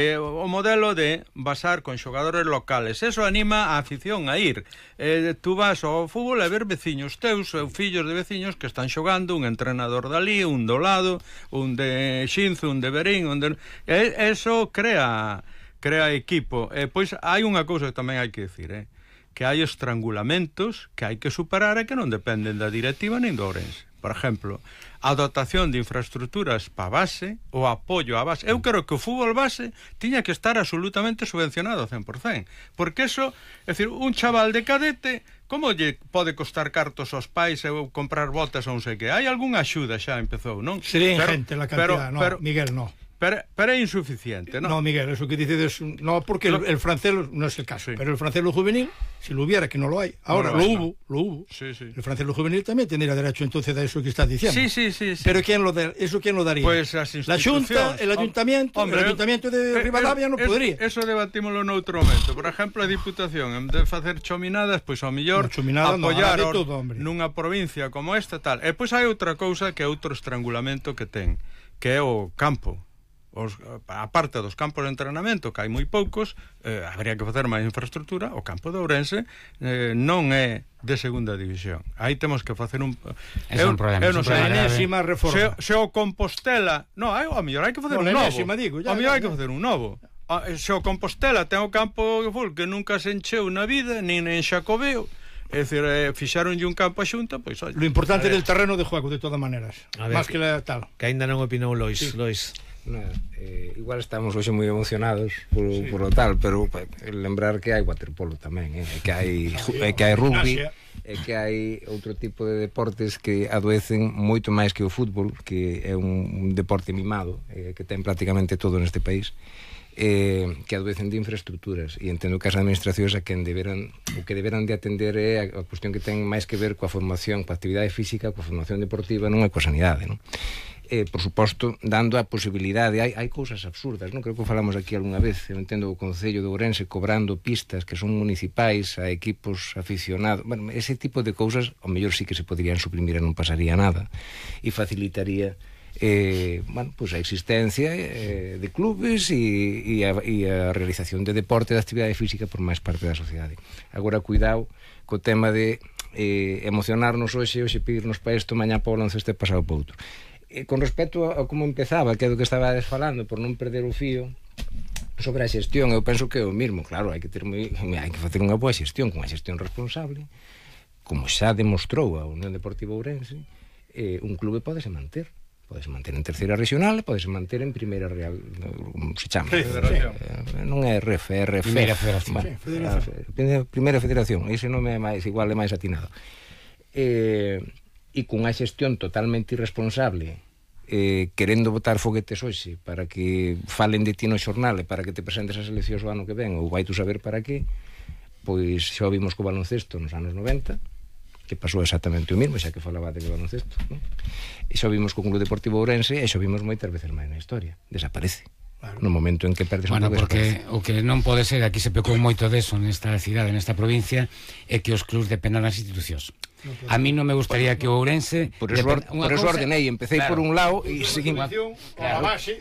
O modelo de basar con xogadores locales, eso anima a afición a ir. Tú vas ao fútbol a ver veciños teus, fillos de veciños que están xogando, un entrenador dali, un do lado, un de Xinzo, un de Berín, eso crea equipo. Pois hai unha cousa que tamén hai que decir, que hai estrangulamentos que hai que superar e que non dependen da directiva nin do Ourense. Por exemplo, a dotación de infraestructuras para base, o apoio á base. Eu creo que o fútbol base tiña que estar absolutamente subvencionado ao 100%, porque eso, é dicir, un chaval de cadete, como lle pode costar cartos aos pais ou comprar botas ou non sei que? Hai algunha axuda xa empezou, non? Sería ingente la cantidad, Miguel, no. Pero é insuficiente, ¿no? No, Miguel, eso que dices, no, porque el francés no es el caso, pero el francés lo juvenil, si lo hubiera, que no lo hay, ahora lo hubo. Sí. El francés lo juvenil también tendría derecho entonces a eso que estás diciendo. Sí. Pero ¿quién lo daría? Pues las instituciones. La Xunta, el ayuntamiento, el ayuntamiento de Ribadavia no podría. Eso debatímoslo noutro momento. Por exemplo, a Diputación, en vez de facer chominadas, pois ao mellor apoyar nunha provincia como esta, tal. E pois hai outra cousa que é outro estrangulamento que ten, que é o campo. A parte dos campos de entrenamento, que hai moi poucos, habría que facer máis infraestructura. O campo de Ourense non é de segunda división. Aí temos que facer un... É un problema. Enésima reforma. Se o Compostela... No, ao mellor hai que facer un novo. Ao mellor hai que facer un novo. Se o Compostela ten o campo de fútbol que nunca se encheu na vida, nin en Xacobeo, é dicir, fixaronlle un campo a Xunta, pois... Lo importante del terreno de juego, de todas maneras. Más que la tal. Que ainda non opinou Lois. Igual estamos hoxe moi emocionados por o tal, pero lembrar que hai waterpolo tamén, que hai rugby, e que hai outro tipo de deportes que adoecen moito máis que o fútbol, que é un deporte mimado, que ten prácticamente todo neste país, que adoecen de infraestructuras, e entendo que as administracións o que deberan de atender é a cuestión que ten máis que ver coa formación, coa actividade física, coa formación deportiva, non é coa sanidade, non? Por suposto, dando a posibilidade, hai cousas absurdas, non? Creo que falamos aquí algunha vez, eu entendo o Concello de Ourense cobrando pistas que son municipais a equipos aficionados, bueno, ese tipo de cousas ao mellor sí que se poderían suprimir e non pasaría nada, e facilitaría a existencia de clubes e a realización de deporte, de actividade física por máis parte da sociedade. Agora, cuidado co tema de emocionarnos hoxe pedirnos para isto, mañá para o baloncesto e pasado para outro. Con respecto a como empezaba, que é do que estabades falando, por non perder o fío sobre a xestión, eu penso que é o mismo. Claro, hai que facer unha boa xestión, con unha xestión responsable, como xa demostrou a Unión Deportiva Ourense. Un clube podese manter en terceira regional, podese manter en primeira real, como se chama, non é RF, é RF, Primeira Federación. Primeira Federación, ese nome é máis igual, é máis atinado. E con a xestión totalmente irresponsable, querendo botar foguetes hoxe para que falen de ti no xornal e para que te presentes as eleccións o ano que ven, ou vai tu saber para qué, pois xa o vimos co baloncesto nos anos 90, que pasou exactamente o mismo, xa que falaba de baloncesto, non? E xa o vimos co Club Deportivo Ourense, e xa o vimos moitas veces máis na historia, desaparece. No momento en que perdes un pouco porque o que non pode ser, aquí se pecou moito deso nesta cidade, nesta provincia, é que os clubs dependan das institucións. A mí non me gustaría que o Ourense... Por eso ordenei, empecé por un lado e seguimos... A base.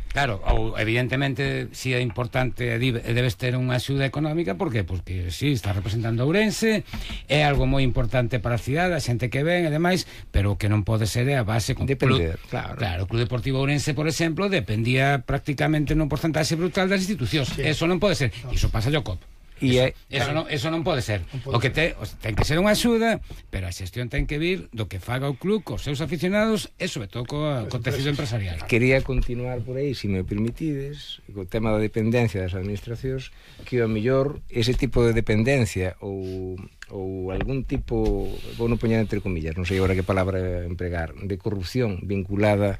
Claro, evidentemente si é importante, debes ter unha axuda económica, por qué? Porque si, está representando a Ourense, é algo moi importante para a cidade, a xente que ven e demais, pero o que non pode ser é a base... Depender, claro. O Club Deportivo Ourense, por exemplo, dependía prácticamente nun porcentaxe brutal das institucións. Eso non pode ser. Iso pasa ao COP. Eso non pode ser. O que ten que ser unha axuda, pero a xestión ten que vir do que faga o club cos seus aficionados e sobre todo co tecido empresarial. Quería continuar por aí, se me permitides, co tema da dependencia das administracións, que ao mellor ese tipo de dependencia ou algún tipo, vou non poñer entre comillas, non sei agora que palabra empregar, de corrupción vinculada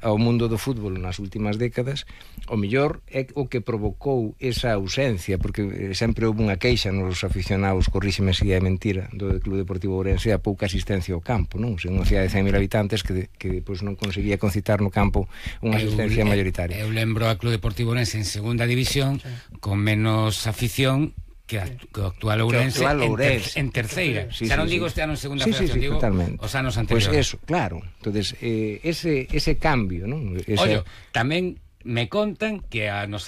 ao mundo do fútbol nas últimas décadas, o mellor é o que provocou esa ausencia, porque sempre houve unha queixa nos aficionados, corríxeme se é mentira, do Club Deportivo Ourense, a pouca asistencia ao campo, non? Unha cidade de 100.000 habitantes que depois non conseguía concitar no campo unha asistencia mayoritaria. Eu lembro a Club Deportivo Ourense en segunda división con menos afición que o actual Ourense en terceira. Xa non digo este ano en segunda federación, digo os anos anteriores. Pois eso, claro. Entonces, ese cambio, non? Ollo, tamén me contan que a nos